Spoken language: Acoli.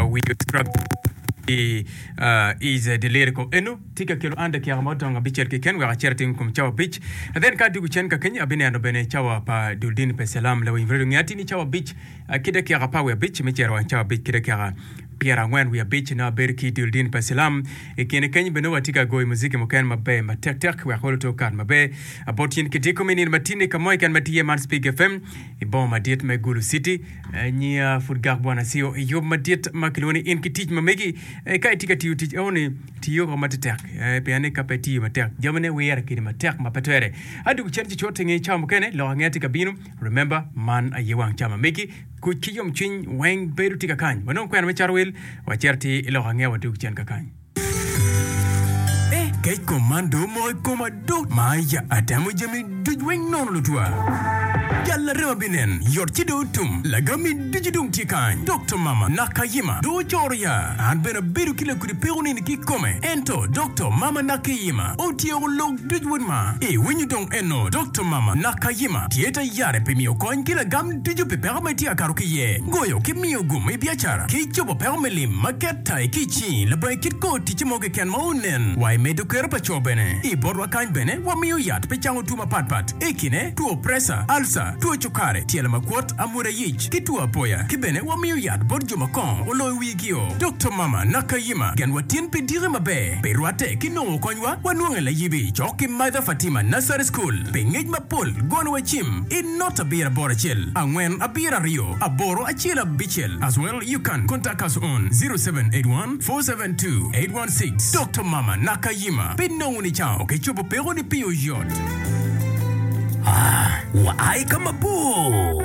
We is the lyrical eno tye ka kelo an dakika ma odong abicel keken wek acit atim kom cawa abic then ka adwogo cen ka kenyo abineno bene cawa pa dul dini pa Cilam lawiny radio nge atir ni cawa abic ki dakika apar wiye abic me cito wang cawa abic ki dakika pyerangwen wiye abic nongo abedo ki dul dini pa Cilam i kine kenyo bene nongo watye ka goyo muziki mukene maber matek tek wek olo to okat maber bot in ki diko me nino matinni ka mo keken ma tye iye man Spig FM i boma madit me Gulu City. Nyiya pud gak bwana cio i yub madit ma kilwongo ni in ki tic ma megi. Ka itye ka tiyo tic enoni, tiyo ko matetek pien ni ka pe itiyo matek, jamine wire kedi matek ma pe twere. Adwogo cen ci cut inge cawa mukene, lok angeya tye ka bino. Remember, man aye wang ca ma megi. Kuc ki yomcwiny weng bedo tye kakany. Wanong kwena me cato wil, wacito atir i lok angeya wadwog cen kakany. Kec kom man dong omoko i koma do ma ya atemo jami duc weng nono lutwa. Jal larema binen yot ci dong otum lagami ducu dong tye kany. Dokto mama Nakayima dong ocoro ya an bene abedo ki lakudi peko nini kikome ento Dokto mama Nakayima otyeko lok duc wod ma i winyo dong eno Dokto mama Nakayima tye tayare pi miyo kony ki lagam ducu pi peko ma itye ka kato ki iye goyo ki miyo gum i biacara ki cobo peko me lim ma ket Tai ki i cingi labongo kit kor ticce mo keken ma onen. Wa i medo kero pa co bene. I botwa kany bene wamiyo yat pi cango two mapat pat, i kine, two presa, alca, two cukari, tyelo makwot, amwoda yic, ki two apoya. Ki bene wamiyo yat bot jo ma kongo oloyo wigio. Dokto Mama Nakayima gen wa tin pi diki maber. Pi rwatte ki nongo konywa, wanwonge layibi cok ki Mother Fatima Nursery School. Pi ngec mapol, gonwa cim i not abiro aboro acel, angwen abiro aryo, aboro acel abicel as well. You can contact us on 0781 472 816 Dokto Mama Nakayima pe nongo ni cango ki cobo peko ni pi oyot. Ah, wa ai ka mabor.